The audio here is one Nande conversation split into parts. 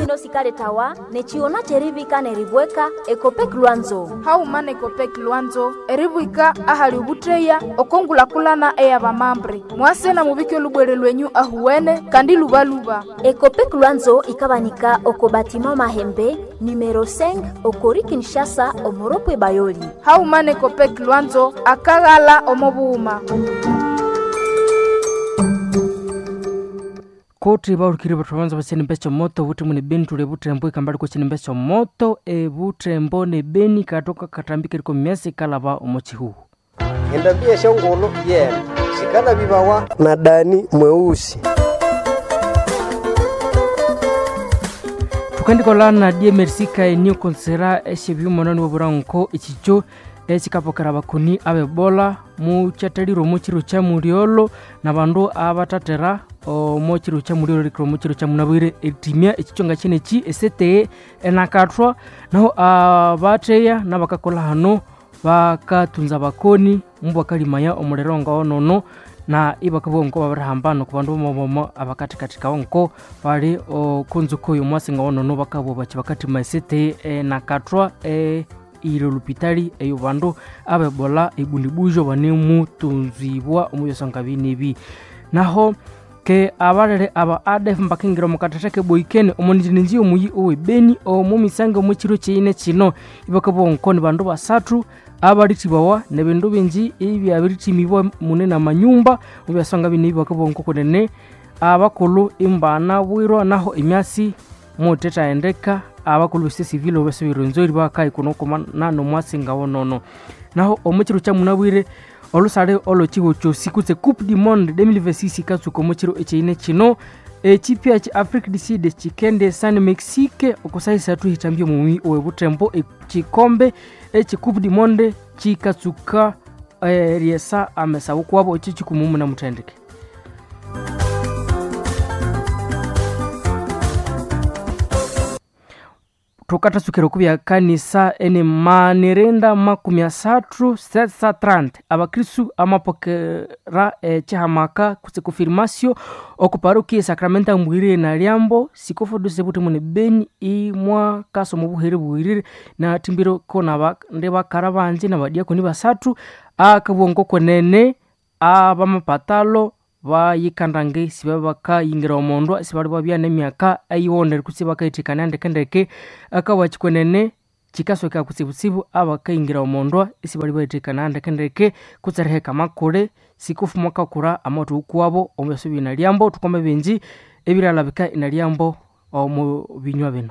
Sino sikaletawa nechiona cherivika neribweka Ekopek Lwanzo. Hauma na Ekopek Lwanzo eribwika ahali ubutreya okongulakulana eyabamambre. Mwase na mubike olubwere lwenyu ahuwene kandi lubaluba. Ekopek Lwanzo ikabanika oko batima Mahembe numero 5 okori Kinshasa omoropwe Bayoli. Hauma na Ekopek Lwanzo akaghala omo bughuma. Koti baurikire bathu banza basenimbe moto buti mune beni tule butembo ikambali kusenimbe moto ebutembo ne beni katoka katambike liko myasi kalaba omo chihuhu. Endambi eshongolo yena sikala bibawa na Dani mweusi. Tukandikola na die merci kaenio konsera eshebyumonani woburanko echicho ekikapokera bakoni abebola muchataliro muchiro cha muliolo na bandu abatatera omo chiro cha muliolo likiro muchiro cha munabwire etimia echichonga chinechi esete enakathwa naho abateya nabakakola hano bakatunza bakoni mubwakalimaya omuliro ngaonono na ibakabwa nko babirihambana ku bandu bomobomo abakathikathikawo nko bali okunzuko y'omwasi ngaonono bakabwa bachi bakathima esete enakathwa ire lupitali eyo bandu abebola ebundibujo banemutunzibwa omubyosonga binebi. Naho ke abalele aba ADF mbakingira omukathatha keboikene omunijinenji omuyi owe Beni omumisango omukiro kyeine kino ibakabwa nko ni bandu basathu abalithibawa nebindu bingi ibyabirithimibwa mune namanyumba mubyasonga binebi bakabwa nko kunene abakulhu imbana bwirwa naho emyasi mutethaendeka abakulhu bese civil obasubirwenzori bakayikunokoma nomwasi ngawonono. Naho omukiro kyamunabwire olusale olwekiho kyosi kutse Coupe du Monde 2026 ikatsuka omukiro ekyeine kino ekipya ki Afrique du Sud kikende san Mexique okusaha isathu hitambya omumi owebutembo ekikombe eki Coupe du Monde kikatsuka eryesa amesawu kwabo ekyo kikumumu namuthendeke. Tukathasukira okubya kanisa ene manirinda 30 730 abakristu amapokera ekihamaka kutse confirmatio oku parokia Sacramento mbwirire na Liambo sikofoduse buti mune Beni imwa kaso mubuhere buwirire na timbiro kona ndi bakara banji na badiakoni basathu akabongo kwenene abamapatalo bayikandange siba bakayingira omondu sibali babya nemyaka eyiwonere kutse bakayithikana ndekendeke akawakikwenene kikasoka kutsibutsibu abakayingira omondwa isibali bayithikana ndekendeke kutse riheka amakule sikufu mwakakura amawuthu ukuwabo omubyaso binalyambo tukome bingi ebiryalabika inalyambo omu binywa bino.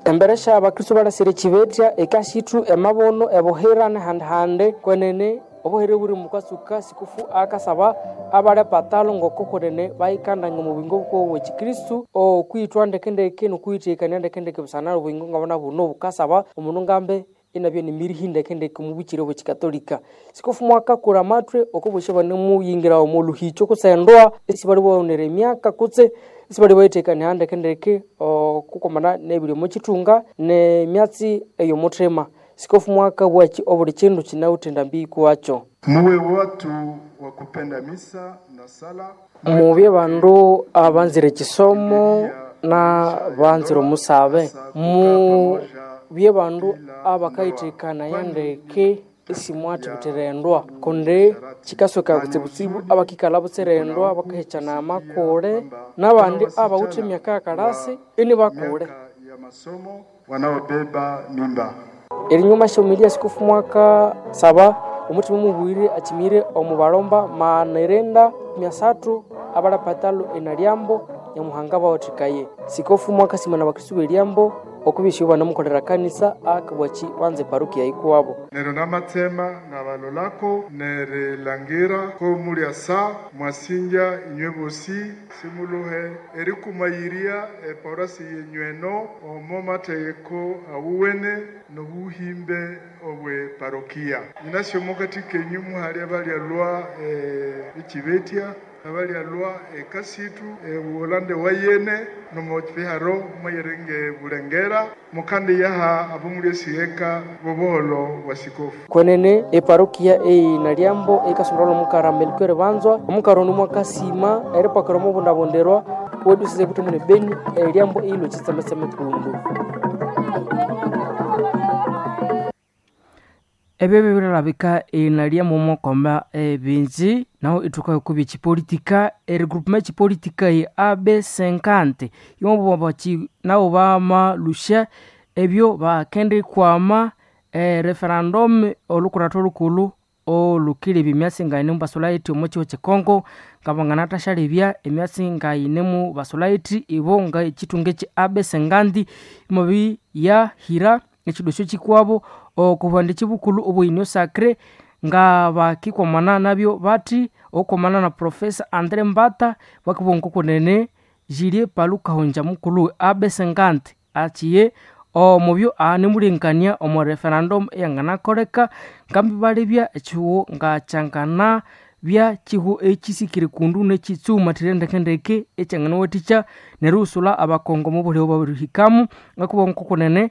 Embere sya abakristo balasire ekibetya ekasithu emabono ebohera nehandihandi kwenene obuhere buri mukasuka sikufu akasaba abali patalo ngoko kwenene bayikandanga omu buyingo bukowu bwekikristu okwithwa ndekendeke nokwithekania ndekendeke busana obuyingo ngabona buno bukasaba omundu ngambe inabya nemirihi ndekendeke omu bukire bwekikatolika. Sikufu mwakakura amathwe okubosya banemuyingira omu luhicho kutse endoa esibali bawonera emyaka kutse esibali bayithekania ndekendeke okukomana nebiri omu kithunga nemyatsi eyomuthima. Sikofu mwaka bwaki obuli kindu kinawithe endambi kuwakyo. Muwe watu wa kupenda misa na sala. Mubye bandu abanzire ekisomo na banzire omusabe. Mubye bandu abakayithekana ndeke isimwathibithira endwa kundi kikasoka kutsibutsibu abakikalha butsira endwa bakahekyana amakule nabandi abawithe emyaka yakalasi inibakule. Ya masomo wanaobeba mimba. Erinyuma syomilia sikufu mwaka saba omuthima mubwire akimire omu balomba manirinda 300 abalapatalo enalyambo nyamuhanga bawathikaye. Sikofu mwaka simana abakristu b'elyambo okubisya banamukolera kanisa akabwaki banze parokia yikuwabo. Nero namatsema nabalolako nerilangira ko mulya sa mwasinja inywe bosi simuluhe erikumayiria eporasi yenyweno omo mategeko awuwene nobuhimbe obwe parokia. Nyinasyo mukati kenyu muhali abalyalwa ekibetya Abalyalwa ekasitu ebuholande wayene nomukiharo mwayerenge bulengera mukandi yaha abomulyesigeka bobuholo bwa sikofu. Kwenene eparokia einalyambo ekasondolwa omukara Melchior Banzwa omukara ono mwakasima eripakira omubundabundirwa wedusize butembo ne Beni eryambo eilo chitsemetseme kundu. Ebyo birilabika inalyamo mokoma ebinji naho ithuka okubya echipolitika erigroupement echipolitika ye AB50 yobo nabo bamalusya ebyo bakendikwama referendum olukuratho lukulhu olhukilebya emyatsi ngayine mubasolaiti omo kihugho kye Congo ngabanganathasyalyebya emyatsi ngayine mubasolaiti ibo nga ekithunga ekye AB50 imwabiyahira ekidosyo kikwabo okubwandiki bukulhu obwe Union Sacrée nga bakikwamana nabyo bathi okwamana na Professor Andre Mbata bakibugha ngokunene Julie Palu Kahongya mukulhu AB50 akyiye omubyo anemulengekania omo referendum eyanganakoleka ngambi balebya ekihugho ngakyangana bya kihugho ekisikire kundu nekitsumathire ndekendeke ekyanganawathikya nerighusula abakongo omubulhi obabirihikamu ngakubugha ngokunene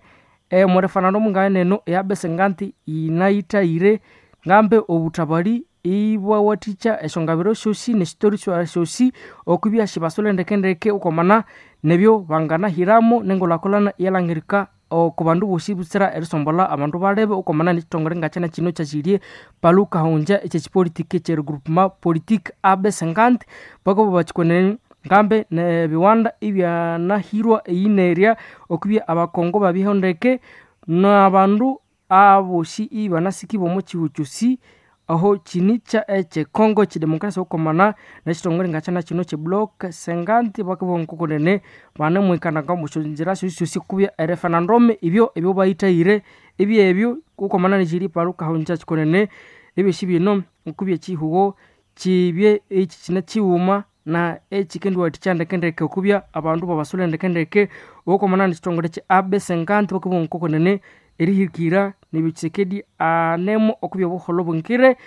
omo referendum ngayeneno eya AB50 yinayithayire ngambe obuthabali ibwawathikya esyongabiro syosi nesyitori syosi okwibya sibasule ndekendeke okwamana nebyo banganahiramo nengulhakulhana iyalhangirika oko bandu bosi butsira erisombolha abandu balebe okwamana nekithongole ngakyana kino kyakyilye Palu Kahongya ekyekipolitika ekyerigroupement politique AB50 bakabugha bakikwenene ngambe nebiwanda ibyanahirwa eyinerya okwibya abakongo babyeho ndeke nabandu abosi ibanasikibwa omo kihugho kyosi aho kini kya ekye Congo ekye democracy okwamana nekithongole ngakyana kino kye bloc 50 bakabugha ngokunene banemwikananga omusyonzira syosisyosi kubya ereferendum ibyo ebyo bayithayire ibyebyo okwamana nekyiri Palu Kahongya kikonene ebyosi bino okubya ekihugho kibye eki kine kighuma na ekikendiwathikya ndekendeke okubya abandu babasule ndekendeke okwamana nekithongole kye AB50 bakabugha ngokunene erihikira nebyo Tshisekedi anemo okubya obuholho bwingire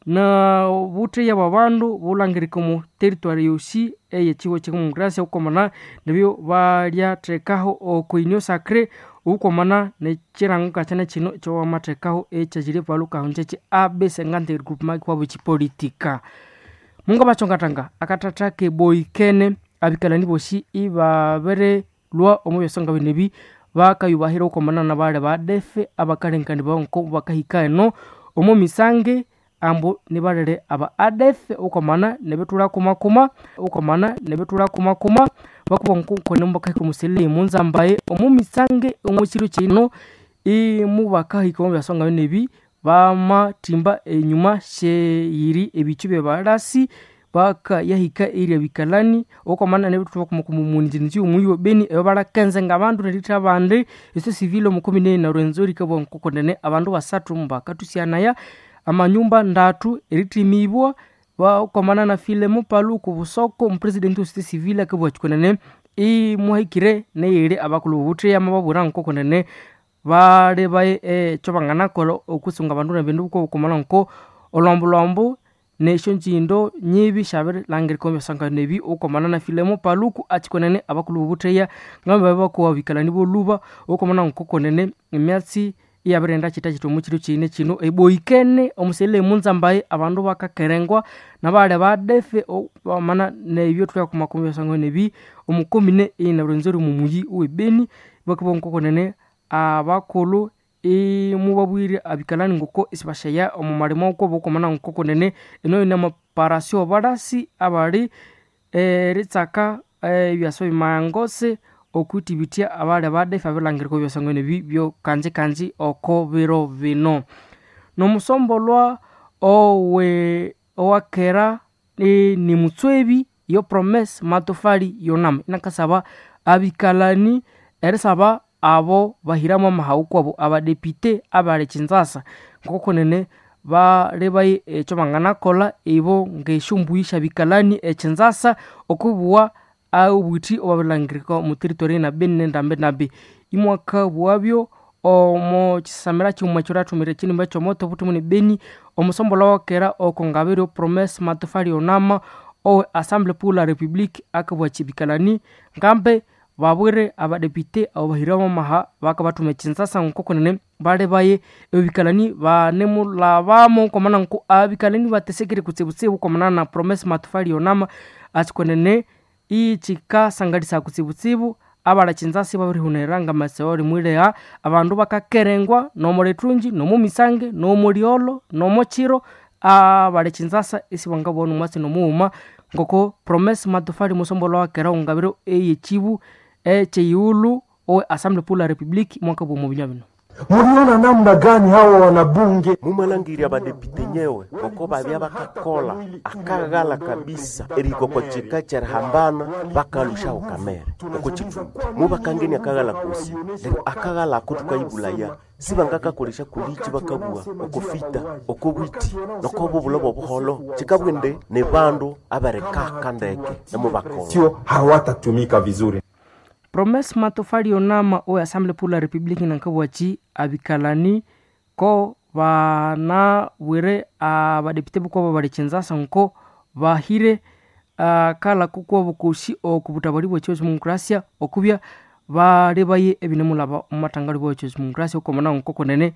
na obutheya bwabandu bulhangirika omu territory yosi eyekihugho kyedemocracy okwamana nebyo balyathekaho oko Union Sacrée okwamana nekirango ngakyana kino ekyawamathekaho ekyakyiri Palu Kahongya ekye AB50 regroupement kwabo ekipolitika. Mungu abakyongathanga akathatha keboikene abikalani bosi ibabirilhwa omu byasonga bino ebi bakayubahira okwamana nabali badefe abakalengekani nko bakahika eno omo misange ambu nibalere aba ADF okwamana nebithulha kumakuma okwamana nebithulha kumakuma bakubugha nkokone mubakahika omusilili munzambaye omo misange omo kiro kino imubakahika omu byasonga bino ebi bamathimba enyuma syeyiri ebikyu byebalasi bakayahika erya bikalani okwamana nebithulha kumakuma omunjinji omuyi we Beni eyo balakenze ngabandu neritha abandi esyo civil omukomine na Rwenzori ikabugha nkokunene abandu basathu mbakathusyanaya amanyumba ndatu erithimibwa okwamana na Filemo Paluku Busoko omupresident we société civile akabugha kyikunene imuhikire neyiri abakulhu bobutheya amababwira nkokunene bali ekyo banganakolha okwisunga abandu nebindu okwamana nko olhwambulhwambu nesyonjindo nyibi syabirilhangirika omu byasangano ebi okwamana na Filemo Paluku akyikonene abakulhu bobutheya ngambi babya bakowa abikalani bolhuba okwamana nkokonene emyatsi iyabirighenda kyitakyita omu kiro kiyine kino eboikene omusilili munzambaye abandu bakakerengwa nabali badefe bamana nebyo thulyakumakuma omu byasangano ebi omukomine eyina Rwenzori omumuyi owe Beni bakabugha nkokonene abakulhu imubabwire abikalani ngoko isibasyaya omu malimo wakwabo okwamana nkokonene eno yine amaparasyo abalasi abali eritsaka ebyasa bimangose okwithibitya abali abadefe abirilhangirika ebyasangano ebi byokanjikanji oko biro bino. Nomusombolwa owe owakera ni mutswebi yo Promesse Matofali yonama inakasaba abikalani erisaba abo bahiramu amahawu kwabo abadepite abali Kinshasa ngokunene balebaye ekyo banganakolha ibo ngesyombuyi syabikalani e Kinshasa okwibuwa obwithi obwabirilhangirika omu territory na Beni nendambinambi. Imwakabughabyo omo kisamira kighuma ekyolyathumira ekinimba ekyomoto obuthumune Beni omusombolwa wakera oko ngabiro Promesse Matofali Onama Owe Assemblée pour la République akabwa chibikalani ngambe babwire abadepite abo bahiramu amaha bakabathuma ekinzasa nkokonene bali baye ebikalani banemulabamo komana nko abikalani batesekere kutsibutsibu komana na Promesse Matofali yonama atsikonene ichikasangalisa kutsibutsibu abala chinzasi babirihunira ngamaseo limwileha abandu bakakerengwa nomo lithunji nomo misange nomo liolo nomo chiro abali chinzasa isibangabona omwatsi nomughuma ngoko Promesse Matofali musombolwa wakera ngabiro eyechibu echeyighulhu owe Assemblée pour la République mwaka bwomo binywa bino. Muliona namna gani hawa wanabunge mumalangirya abadepite nyewe ngoko babya bakakola akaghala kabisa erihika oko kika kyerihambana bakalushaho kamere oko kithungu mubakangenia akaghala kosi neryo akaghala ako thukayibulaya sibangakakolesya kulichi bakabugha oko fita oko bwiti noko bubulho bobuholo kikabugha indi ni bandu aberikaka ndeke nemubakola sio hawatatumika vizuri. Promesse Matofali yonama owe Assemblée pour la République nankabwachi abikalani ko banabwire abadepite bukwabo bali chinzasa nko bahire kala kukwabo kushi okubutabali bwe chio demokrasia okubya bali baye ebinemulaba omumatangalo bwe chio demokrasia okomana nko konene.